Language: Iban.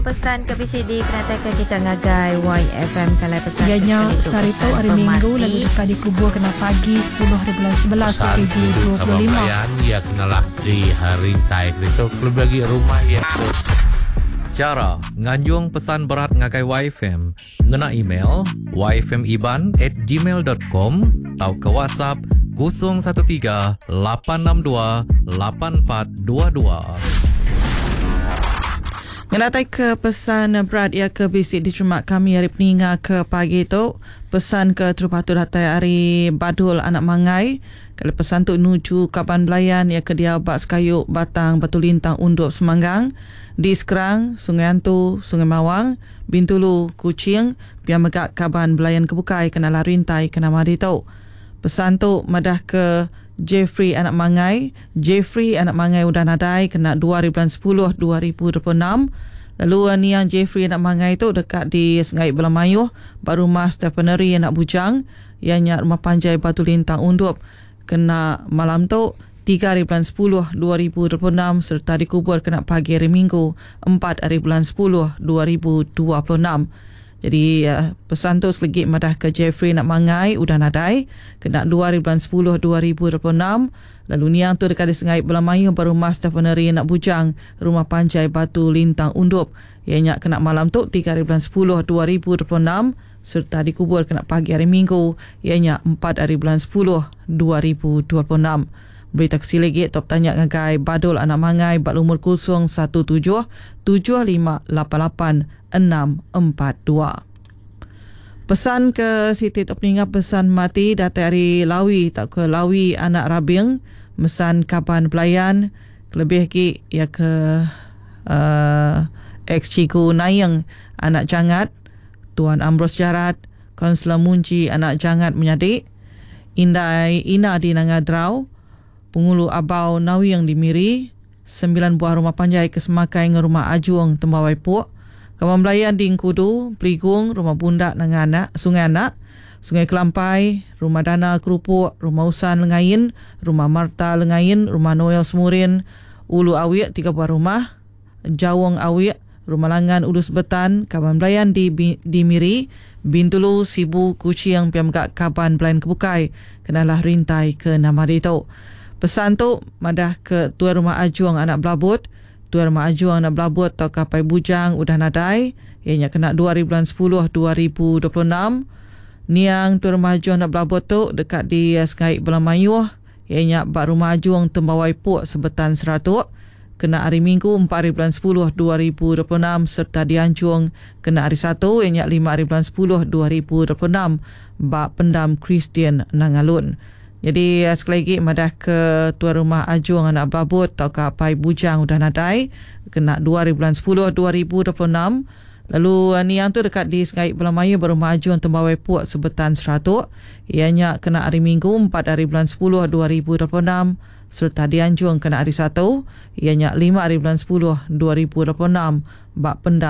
Nampung pesan ke bisi dikenataika kita ngagai YFM kalai pesan Iya ke nya sekali tu sehari tu pesan hari Minggu pemati. lalu deka dikubur kena pagi 10 hari bulan 11 Pesan tuju kaban 2025. belayan iya kenalah di rintai ditu kelebih agi rumah iya tu. Chara nganjung pesan berat ngagai YFM ngena email yfmiban at gmail dot com tauka WhatsApp 013 862 8422. Ngenatai ke pesan berat iya ke bisi diterima kami ari peninga ke pagi tu. Pesan ke terubah tu datai ari Badul Anak Mangai. Kali pesan tu nuju kaban belayan iya ke diau ba Sekayu Batang Batu Lintang Undup Semanggang, di Skrang, Sungai Antu, Sungai Mawang, Bintulu, Kuching, pia mega kaban belayan ke bukai ke nalah rintai ke nama ditu. Pesan tu madah ke Jeffrey Anak Mangai. Jeffrey Anak Mangai udah nadai kena 2 hari bulan 10 2026. Lalu niang Jeffrey Anak Mangai tu deka di Sengai Bela Mayuh ba rumah Stephenery Anak Bujang, iya nya rumah panjai Batu Lintang Undup kena malam tu 3 hari bulan 10 2026 sereta dikubur kena pagi hari Minggu 4 hari bulan 10 2026. Jadi pesan tu selegi madah ke Jeffrey Anak Mangai udah nadai kena 2 hari bulan 10 2026. Lalu niang tu deka disengai bela mayuh ba rumah Stephenery Anak Bujang, rumah panjai Batu Lintang Undup. Iya nya kena malam tu 3 hari bulan 10 2026 sereta dikubur kena pagi hari Minggu iya nya 4 hari bulan 10 2026. Berita ke silik agi top tanya ngagai Badul Anak Mangai ba lumur 017 7588 642. Pesan ke siti tu peninga pesan mati datai ari Lawi tauka Lawi Anak Rabing mesan kaban belayan kelebih agi iya ke ex Cikgu Naing Anak Jangat, Tuan Ambrose Jarat, Kaunselor Munji Anak Jangat menyadi, Indai Ina di Nanga Drau, Pengulu Abau Nawing di Miri, 9 buah rumah panjai ke semakai enggau rumah Ajung Tembawai Puk, Kaban Belayan di Engkudu, Peligung, Rumah Bundak Nanga Anak, Sungai Anak, Sungai Kelampai, Rumah Dana Kerupuk, Rumah Usan Lengain, Rumah Marta Lengain, Rumah Noel Semurin, Ulu Awik 3 buah rumah, Jawong Awik, Rumah Langan Ulu Sebetan, Kaban Belayan di di Miri, Bintulu, Sibu, Kuching, pia mega Kaban Belayan ke bukai kenalah rintai ke nama ditu. Pesan tu madah ke Tuai Rumah Ajung Anak Belabut, Tuai Rumah Ajung Anak Belabut tauka Apai Bujang udah nadai, iya nya kena 2 hari bulan 10 2026. Niang Tuai Rumah Ajung Anak Belabut tu deka di Sengai Bela Mayuh, iya nya ba Rumah Ajung Tembawai Puk Sebetan Seratuk kena hari Minggu 4 hari bulan 10 2026 sereta dianjung kena hari Satu iya nya 5 hari bulan 10 2026 ba Pendam Kristian Nangalun. Jadi sekali lagi madah ke Tuai Rumah Ajung Anak Belabut tauka Apai Bujang udah nadai kena 2 hari bulan 10 2026. Lalu niang tu deka di Sengai Bela Mayuh ba Rumah Ajung Tembawai Puk Sebetan Seratuk iya nya kena hari Minggu 4 hari bulan 10 2026 sereta dianjung kena hari Satu iya nya 5 hari bulan 10 2026 ba Pendam.